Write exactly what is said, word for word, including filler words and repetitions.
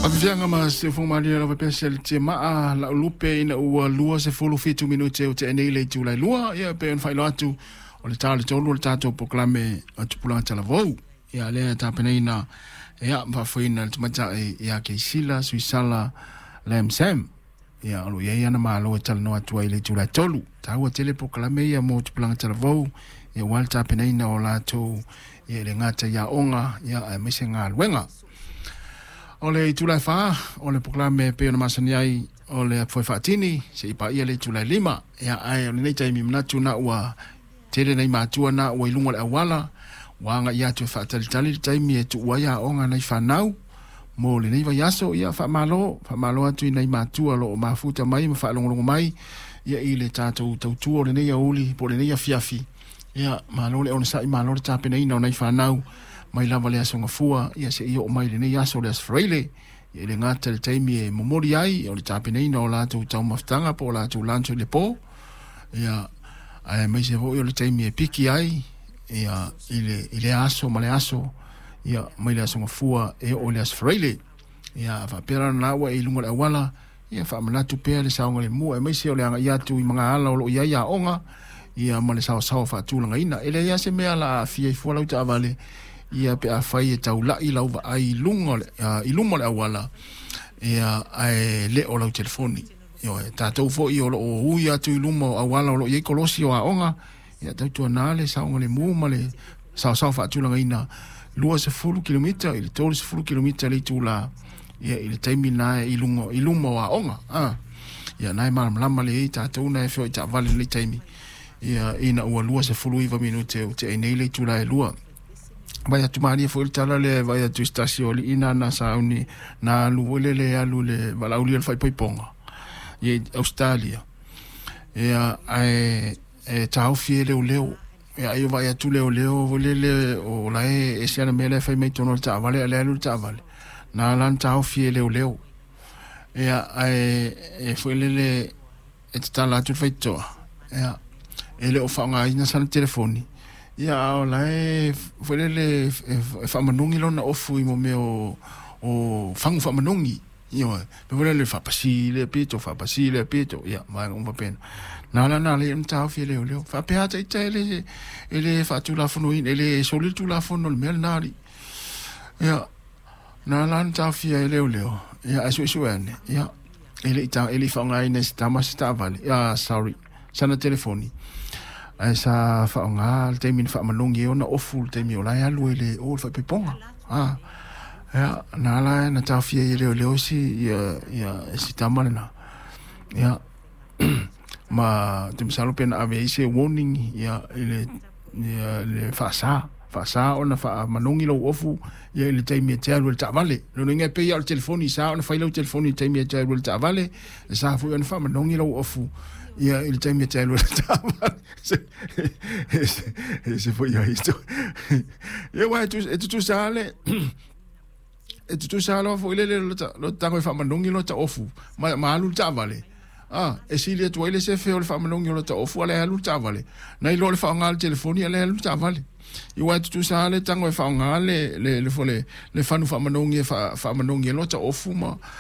Afiaga ma siufoga lava pea se le maa la'u lupe ina ua lua sefulu fitu minute o te'e nei le itulai lua. Ia pe ona faailoa atu o le ta o le tolu o le tatou polokalame o tupulaga talavou, ia lea tapenaina ia ma faafoeina le tamaitai ia Keisila Suisala Lam Sam. Ia o lo o i ai ana malo e talanoa atu ai i le itulai tolu. Taua tele polokalame ia mo tupulaga talavou, ia ua le tapenaina o latou ia i le gata i aoga ia aemaise galuega. O le itulai fa o le polokalame e pei ona masani ai o le afoe faatini seia paia le itulai lima. Ia ae o lenei taimi manatu na ua tele nai matua na ua i luga o le auala ua aga'i atu e faatalitali le taimi e tu'u ai aoga nai fanau mo lenei vaiaso. Ia faamalo, faamalo atu i nai matua o lo'o mafuta mai ma faalogologo mai ia i le tatou tautua o lenei aoauli po o lenei afiafi. Ia malo le onosa'i, malo le tapenaina o nai fanau mai lava le aso Gafua ia seia oo mai lenei aso, le aso Faraile. Ia le gata le taimi e momoli ai o le tapenaina o latou taumafataga po o latou lunch i le po, ia aemaise foi o le taimi e piki ai ia i le, i le aso ma le aso, ia mai le aso Gafua e oo i le aso Faraile. Ia faapea la na ua e i luga o le auala, ia faamanatu pea le saogalemu aemaise o le aga'i atu i magaala o loo i ai aoga ia ma le saosaoa faatulagaina. E leai lava se mea la aafia ai fua lau taavale ia pe afai e taula'i lau vaai i luga o le, uh, i luma o le auala ia ae le o lau telefoni. Ioe, tatou foi o loo ui atu i luma o auala o loo i ai kolosi o aoga, ia tautuana le saogalemu ma le saosaoa faatulagaina luasefulu kilomita i le tolusefulu kilomita le itulā ia i le taimi na i luga i luma o aoga. Ah ia na e malamalama le tatou na e feoai taavale i lenei taimi ia ina ua luasefulu iva minute o te'e nei le itulā e lua. Vai atu malie foi le tala lea vai atu i se tasi o alii na na sauni na alu foi lele alu le valaaulia le faaipoipoga ia i Australia, ia ae e taofi e leoleo. Ia ai o vaai atu leoleo foi lele o la e ese ana mea la e fai mai totonu o le taavale a le alu le taavale na la na taofi e leoleo. Ia ae e foi lele e tatala atu le faitotoa, ia e le o faaaogaina sana telefoni, ia a o la e foi lele e faamanogi lona ofu i mo mea o o fagu faamanogi. Ioe, pe foi lele faapasi lea pito, faapasi lea pito, ia vaega uma faapena na la na le ona taofi e leoleo. Faapea ata ita e le e le faatulafonoina e le soli le tulafono le mea lena alii. Ia na la na taofia e leoleo, ia ae suesue ane ia e le i ta e le i faaaogaina e se tama se taavale, ah, sorry, sana telefoni, ae sa faaaoga le taimi na faamanogi ai ona ofu le taimi o la e alu ai le o le faaipoipoga. Ah ia na ala na taofia ai e leoleo si ia ia si tama lena. Ia ma te masalo pe na ave ai se warning ia i le ia le faasā faasā ona faamanogi lou ofu ia i le taimi e te alu i le taavale. Lona uiga e pei lava o le telefoni, sa ona fai lau telefoni i le taimi e te alu i le taavale, e sa foi ona faamanogi lou ofu ia i le taimi e te alu i le taavale. Se se se foi ai isto ia ua e tutusa le e tutusa loa foi lele lo tago e faamanogi lo ta ofu ma, ma alu le taavale. Ah, e sili atu ai le sefe o le faamanogi o lo ta ofu ale alu le taavale nai lo le faaaoga le telefoni ale alu le taavale. Ia e tutusa le tago e faaaoga le le le le, le fanu faamanogi e faamanogi e lo ta ofu ma